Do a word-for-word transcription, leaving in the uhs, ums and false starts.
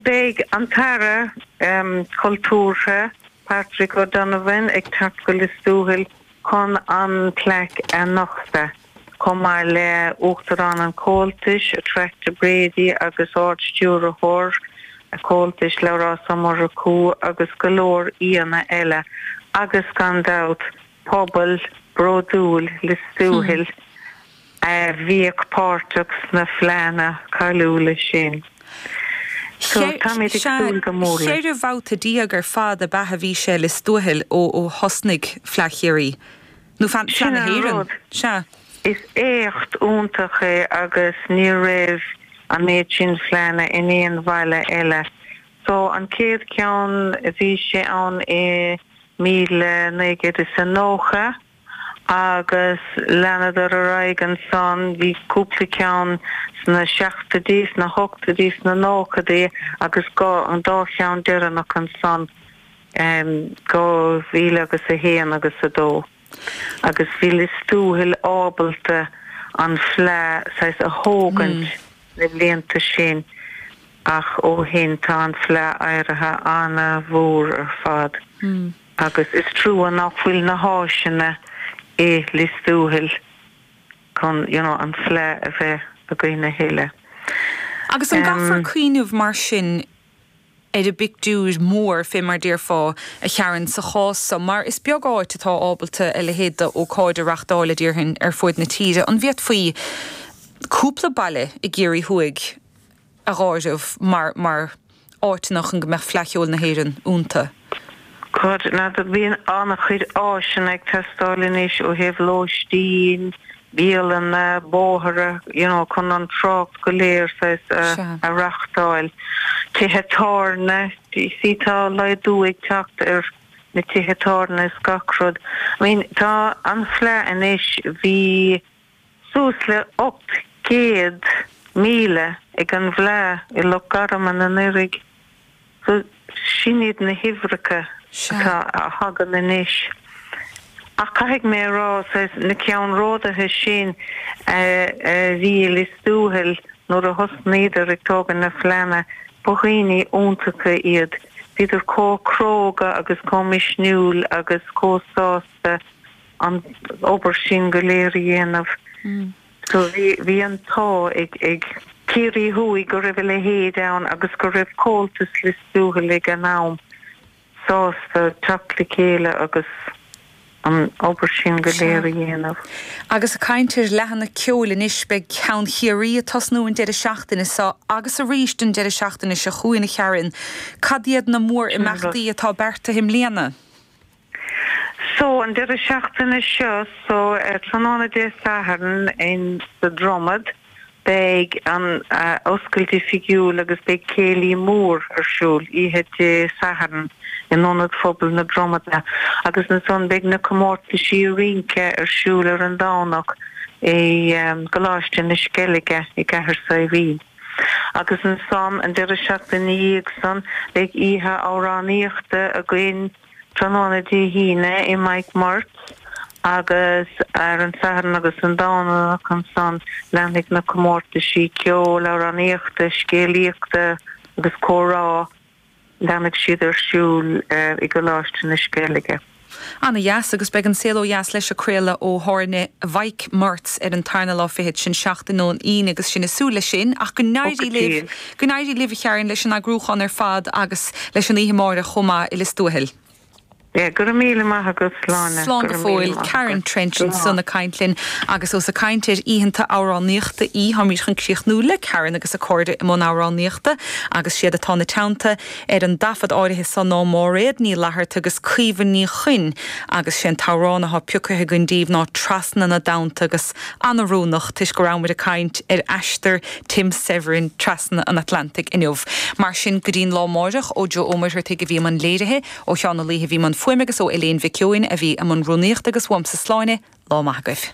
Beidh an tAire um, Cultúrtha Patrick O'Donovan ag teacht go Lios Tuathail chun an plaic a nochtadh. Chomh maith le Uachtarán an Chomhaltais, Attracta Brady agus Ard-Stiúrthóir an Chomhaltais Labhrás Ó Murchú agus go leor aíonna eile agus gan dabht pobal bródúil Lios Tuathail a bhíodh páirteach sna fleánna cáiliúla sin. So táimid ag súil go mór leis. Ceithre bhabhta déag ar fad ab ea a bhí sé Lios Tuathail ó ó thosnaigh Fleadh Chiarraí. Nó Fleadh Sin na an hÉireann. rud. Sea. Is éacht iontach é agus ní raibh an méid sin fleánna in aon bhaile eile. So an chéad cheann bhí sé ann i míle naoi gcéad is a nócha agus leanadar ar aghaidh ansan bhí cúpla ceann sna seachtóidí, sna hochtóidí, sna nóchaidí agus go an dá cheann deireanach ansan um, dhá mhíle agus a haon agus a dó. Agus bhí Lios Tuathail ábalta an fleá saghas a thógaint na blianta sin ach ó shin tá an fleá éirithe an-mhór ar fad. Agus is trua nach bhfuil na háiseanna i Lios Tuathail chun you know, an fleá a bheith againn a thuilleadh. Agus an Um, gcaithfear cuimhneamh mar sin ar an bpictiúr mór fé mar déarfá a Sharon sa chás so mar is beag áit atá ábalta a leithéid d'ócáid a reáchtáil a déarfainn ar fud na tíre an bhféadfaí cúpla baile i gCiarraí Thuaidh a áireamh mar mar áiteanna chun go mbeadh Fleadh Cheoil na hÉireann iontu. God na bíonn an-chuid áiseanna ag teastáil anois ó thaobh lóistín, bialanna, bóithre, you know, chun an trácht go léir saghas Sea. a reáchtáil. Tithe tábhairne, sí tá laghdú ag teacht ar na tithe tábhairne is gach rud. I mean, tá an fleá anois bhí suas le ocht gcéad míle ag an bhfleá i Loch Garman anuraidh. So sin iad na huimhreacha Sea. atá a thagann anois. Ach caithfidh mé rá saghas na ceannródaithe sin a bhí i Lios Tuathail nuair a thosnaíodar ag tógáil na fleánna ba dhaoine iontacha iad. Bhíodar chomh cróga agus chomh misniúil agus chomh sásta an obair sin go léir a dhéanamh. So bhí bhí an t-ádh ag ag Ciarraí Thuaidh go raibh a leithéid ann agus go raibh Comhaltas Lios Tuathail ag an am sásta teacht le chéile agus an obair sin go léir a dhéanamh. Agus ag caint ar fhleánna ceoil anois beidh ceann Chiarraí ag tosnú an deireadh seachtaine seo agus arís an deireadh seachtaine seo chugainn a Sharon. Cad iad na mór-imeachtaí atá beartaithe i mbliana? So an deireadh seachtaine seo so uh, tráthnóna Dé Sathairn in sa Dromad beidh an uh, oscailt oifigiúil agus beidh céilí mór ar siúl oíche Dé Sathairn in Ionad Phobail na Dromada agus ansan beidh na comórtaisí rince ar siúl ar an Domhnach i um, gColáiste na Sceilge i gCathair Saidhbhín. Agus ansan an deireadh seachtaine ina san beidh oíche amhránaíochta againn tráthnóna Dé hAoine i Mike Murt agus ar an Satharn agus an Domhnach ansan leanfaidh na comórtaisí ceoil amhránaíochta, scéalaíochta agus comhrá leanfaidh siad ar siúl uh, i gColáiste na Sceilge. An-dheas agus beidh An Saol Ó Dheas leis ag craoladh ó thábhairne Mhike Murts ar an tarna lá fichead sin seachtain ón Aoine agus sinn ag súil leis sin ach go n-éirí libh go n-éirí libh a Sharon leis an eagrúchán ar fad agus leis an oíche amárach chomh maith i Lios Tuathail. Ja, go raibh míle maith agat Sláine. Slán go fóill Karen Trench ansan ag caint linn agus ós ag caint ar oícheanta amhránaíochta í táimid chun críochnú le Karen agus a cairde i mbun amhránaíochta agus siad atá ina teannta ar an dtaifead áirithe san ná Máiréad Ní Fhlatharta agus Caoimhe Ní Chuinn agus sé an t-amhrán atá pioctha againn díobh ná Trasna na dTonnta agus an-oiriúnach toisc go rabhamar ag caint ar aistear Tim Severin trasna an Atlantaigh inniu. Mar sin go dtí'n lá amárach ó Joe Ó Muircheartaigh a bhí i mbun léirithe ó Sheán Ó Laoithe a bhí i mbun fuaime agus ó Elaine Mhic Eoin a bhí i mbun rúnaíochta agus uaimse Sláine lá maith agaibh.